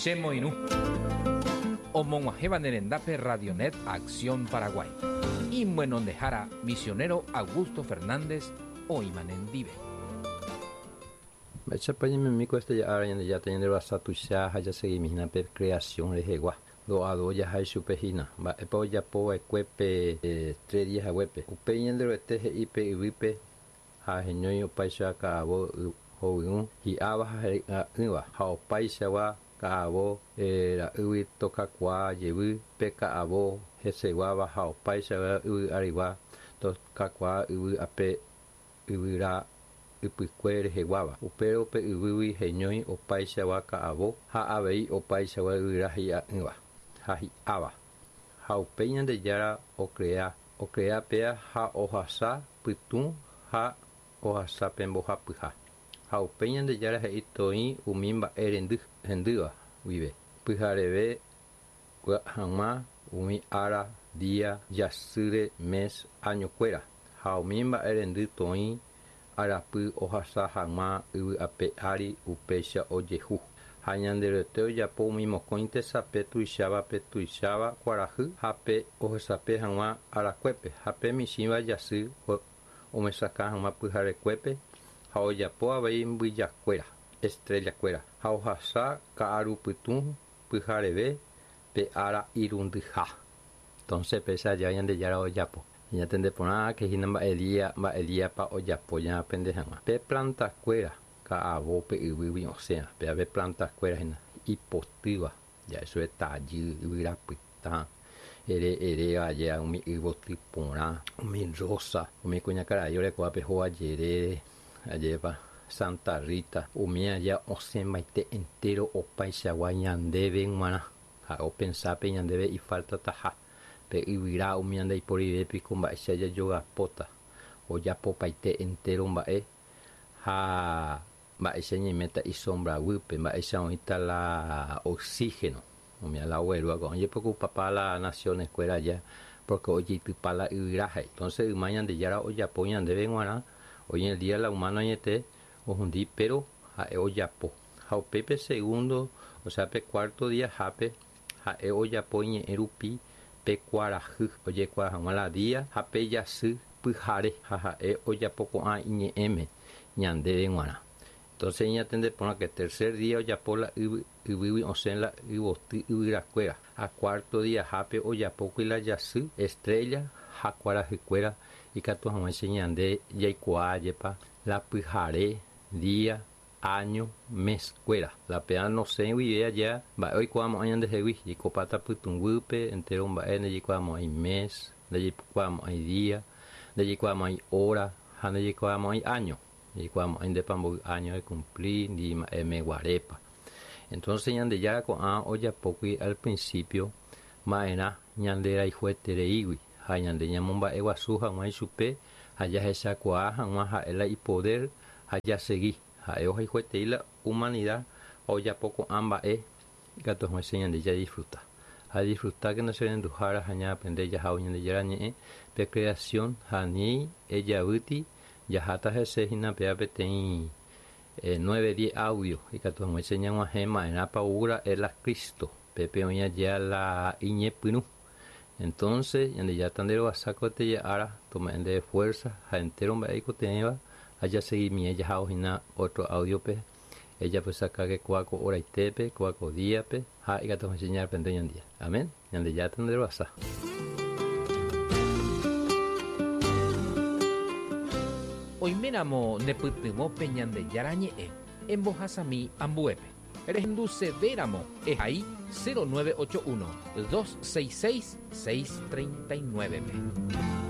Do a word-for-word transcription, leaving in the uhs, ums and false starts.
Chemoirũ. Omog̃uahẽva ne rendápe Radionet Acción Paraguay. Imyenondehára misionero Augusto Fernández oĩma nendive. Mba'éichapa ñaimemi ko este ára Ñandejára ñanderovasa tuicha ha jaseguimína pe creación rehegua. Doado jaha ichupe hína. Mba'épa ojapova'ekue pe eh, tres días haguépe. Upéi Ñanderuete he'i pe yvýpe ha heñói opáicha ka'avo hovyũ hi'áva ha he'ỹva ha opaichagua ka'avo eh, ra'ýgui tokakuaa jevy pe ka'avo heseguáva ha opaichagua yvy arigua tokakuaa yvy ape yvyra ypykue reheguáva. Upérõ pe yvýgui heñói opaichagua ka'avo ha avei opaichagua yvyra hi'a'ỹva ha hi'áva. Ha upéi Ñandejára ocrea ocrea péa ha ohasa pytũ ha ohasa pe mbohapyha. Ha upéi Ñandejára he'i toĩ umi mba'e rendy hendýva guive. Pyhareve hag̃ua umi ára, día, jasýre, mes, añokuéra. Ha umi mba'e rendy toĩ arapy ohasa hag̃ua yvy ape ári upéicha ojehu. Ha Ñanderuete ojapo umi mokõi tesape tuicháva pe tuicháva kuarahy ha pe ohesape hag̃ua arakuépe ha pe michĩva jasy omesakã hag̃ua pyharekuépe ha ojapo avei mbyjakuéra, estrellakuéra ha ohasa ka'arupytũ pyhareve pe ára irundyha. Entonces péicha aja Ñandejára ojapo. Ñatende porã que hína mba'e día mba'e díapa ojapo ñaaprende hag̃ua. Pe plantakuéra ka'avo pe yvýgui osẽva. Pe ave plantakuéra hína ipotýva. Ya eso es tajy, yvyrapytã, ere eréva aje umi yvoty porã, umi rosa, umi kuñakarai orekóva hóga jerére, ajépa Santa Rita, umi aja osẽmbaite entero opaichagua ñandéve g̃uarã. Ha opensápe ñandéve ifaltataha. Pe yvyra umi ndaiporivépe mba'éicha jajogapóta. Ojapopaite entero mba'e ha mba'éicha ñaiméta isombra guýpe, mba'éicha oĩta la oxígeno. Umi la oguerúva ko'ã ojepokupapa la naciones kuéra aja porque ojeitypa la yvyra. Entonces yma Ñandejára ojapo ñandéve g̃uarã, hoy en el día la humano añete ohundi, pero ha'e ojapo. Ha upépe segundo, o sea pe cuarto día hápe ha'e ojapo iñe'ẽ rupi pe kuarahy ojekuaa hag̃ua la día ha pe jasy pyhare ha ha'e ojapo ko'ã iñe'ẽme ñandéve g̃uarã. Entonces ñatende porã que tercer día ojapo la yvy yvýgui osẽ la yvoty yvyrakuéra. Ha cuarto día hápe ojapókuri la jasy, estrella ha kuarahykuéra ikatu hag̃uáicha ñande jaikuaa jepa la pyhare, día, año, mes kuéra. La péa nosẽ guive aja mba'e oikuaamo'ã ñandehegui jaikopáta pytũguýpe entero mba'e ndajaikuaamo'ãi mes, ndajaikuaamo'ãi día, ndajaikuaamo'ãi hora ha ndajaikuaamo'ãi año. Jaikuaamo'ãi ndépa mboy año ecumpli ndi mba'e meguarépa. Entonces Ñandejára ko'ã ojapókuri al principio mba'erã ñanderayhuetereígui ha ñande ñamomba'eguasu hag̃ua ichupe ha jahechakuaa hag̃ua ha'e la ipoder ha jasegui. Ha'e ohayhuetei la humanidad ha ojapo ko'ã mba'e ikatu hag̃uáicha ñande jadisfruta. Ha disfrutákena che renduhára ha ñaaprende jahávo Ñandejára ñe'ẽ pe creación ha ni ejavýti jaháta hese hína péa peteĩ eh, nueve diez audio ikatu hag̃uáicha ñag̃uahẽ ma'erãpa oúra'e la Cristo pépe oĩ aja la iñepyrũ. Entonces Ñandejára nderovasa ko ára tome'ẽ ndéve fuerza ha entero mba'e ikotevẽva ha jaseguimie jahávo hína otro audiope ejapysaka kóa ko horaitépe, kóa ko díape ha ikatu hag̃uáicha ñaaprende ñandía. Amén. Ñandejára nderovasa. Oiméramo nepytyvõpe Ñandejára ñe'ẽ embohasami ambuépe. Rehendusevéramo ehai cero nueve ocho uno, dos seis seis, seis treinta y nueve pe.